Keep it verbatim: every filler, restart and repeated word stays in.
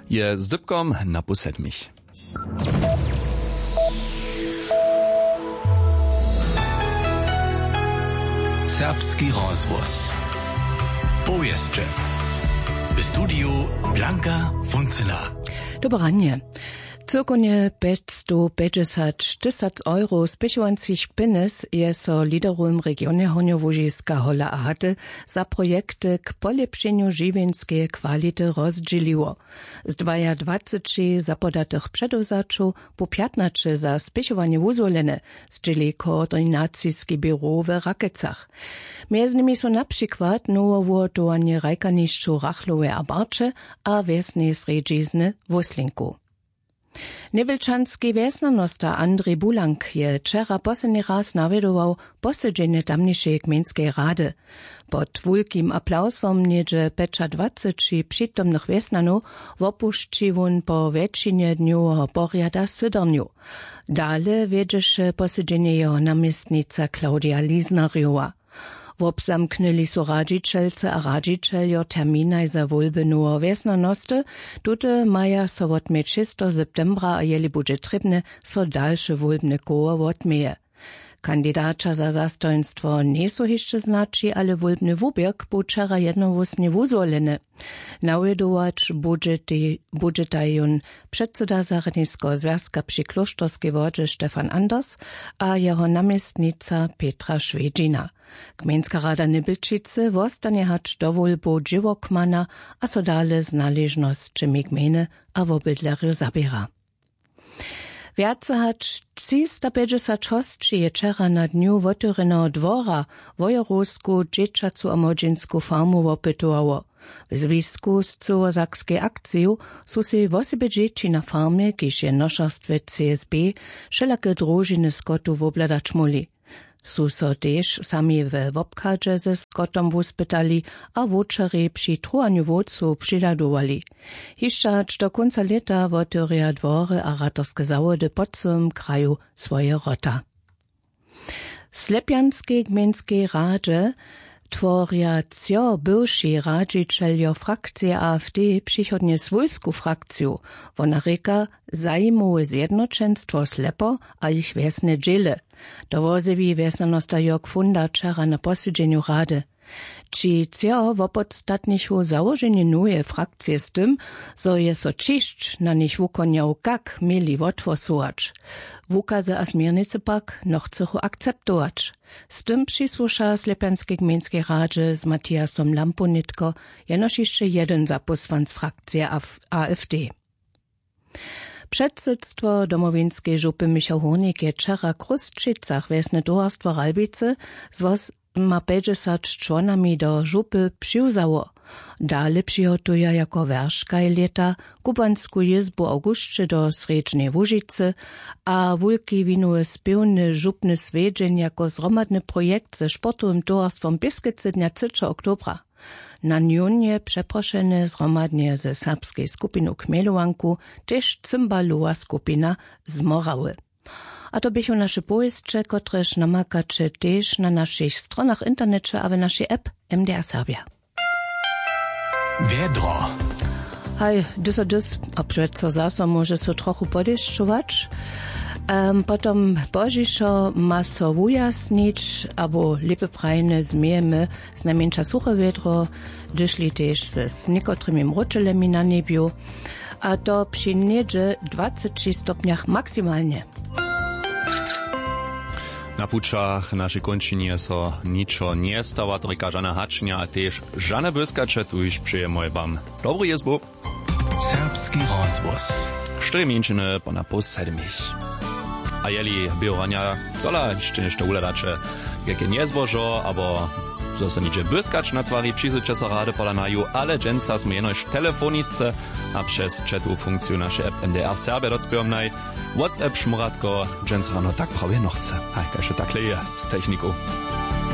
Je z dypkom na pół sedmich. Serbski rozhłos. Powěsće. W studiju Blanka Funcyna. Dobre ranje. Cyłkownje pjećstowpjećdźesać tysac euro spěchowańskich pjenjez je so liderowym regionje Hornjołužiska Hola a Haty za projekty k polěpšenju žiwjeńskeje kwality rozdźěliło. Z dwajadwaceći zapodatych předewzaćow bu pjatnaće za spěchowanje wuzwolene, zdźěli koordinaciski běrow w Rakecach. Mjez nimi su na přikład nowe wuhotowanje hrajkanišćow Rachlowej a Barće a wjesneje srjedźizny Wóslinkow. Njewjelčanski wjesnjanosta Andrej Bulank je wčera posledni raz nawjedował posedźenje tamnišeje gmejnskeje rady. Pod wulkim aplawsom něhdźe pjećadwaceći přitomnych wjesnjanow wopušći wón po wjetšinje dnjoweho porjada sydernju. Dale wjedźeše posedźenje jeho naměstnica Claudia Lisnerjowa. Wobzamknyli su radźićelce a radźićeljo terminaj za wólby noweho wjesnjanosty. Tute maja so wotměć šesteho septembra a jeli budźe trěbne, so dalše wólbne koło wotměje. Kandidaća za zastojnstwo njejsu hišće znaći, ale wólbny wuběrk bu wčera jednohłósnje wuzwoleny. Nawjedować budźetej budźetaj jón předsyda zarjadniskeho zwjazka při klóšterskej wodźe Stefan Anders a jeho naměstnica Petra Šwedźina. Gmejnska rada Njebjelčicy wostanje hač do wólbow dźěłokmana a so dale z naležnosćemi gmejny a wobydlerjow zaběra. Wjace hač třistapjećdźesać hosći je wčera na dnju wotewrjeneho dwora wojerowsku dźěćacu a młodźinsku farmu wopytowało. W zwisku z cyłosakskej akciju su sej wosebje dźěći na farmje, kiž je nošerstwje C S B, wšelake družiny skotu wobhladać móhli. Su so tež sami we wobchadźe ze skotom wuspytali a wowčerjej při truhanju wowcow přihladowali. Hišće hač do kónca lěta wotewrja dwory a ratarske zawody po cyłym kraju swoje wrota. W Slepjanskej gmejnskej radźe tworja třo bywši radźićeljo frakcije A F D přichodnje swójsku frakciju. Wona rěka, zajimowe zjednoćenstwo Slepo a jich wjesne dźěle. To wozjewi wjesnjanosta Jörg Funda wčera na posedźenju rady. Ći třo wopodstatnichu załoženje noweje frakcije z tym, zo je so ćišć na nich wukonjał, kak měli wothłosować. Wukazy a směrnicy pak nochcychu akceptować. Z tym přisłuša w Slepjanskej gmejnskej radźe z Matiasom Lampu nětko jenož hišće jedyn zapósłanc frakcije A F D. Předsydstwo Domowinskeje župy Michał Hórnik je wčera w Chrósćicach wjesne towarstwo Ralbicy z wosomapjećdźesat čłonami do župy přiwzało. Dale přihotuja jako wjerškaj lěta kubansku jězbu w awgusće do Srjedźneje Łužicy a wulki winowy spěwny župny swjedźeń jako zhromadny projekt ze sportowym towarstwom Běskecy dnja třećeho oktobra. Na njón je přeprošene zhromadnje ze serbskej skupinu Chmjelowanku tež cymbalowa skupina z Morawy. A to běchu naše powěsće, kotrež namakaće tež na našich stronach w interneće a w našej app M D R Serbja. Wjedro. Haj, dys a dys, a přeco zaso móže so trochu podešćować. Em, potom pozdźišo ma so wujasnić, abo lěpje prajene změjemy, znajmjeńša suche wjedro, hdyžli tež z, z někotrymi mróčelemi na njebju. A to při něhdźe dwaceći stopnjach maksimalnje. Na pućach našej kónčinje so ničo njestawa, to rěka žane hačnja a tež žane błyskaće, tuž přejemy wam dobru jězbu. Serbski rozhłos. Štyri mjeńšiny po na poł sedmich. A jeli běhoranja tola hišće něšto wuhladaće, kajke njezbožo abo zo so něhdźe błyskać na twari, přizwyće so rady pola naju, ale dźensa smy jenož telefonisce a přez chatowu funkciju našej app M D R Serbja docpěwomnaj. WhatsApp šmóratko dźensa rano tak prawje nochce. Haj, kaž to takle je z techniku.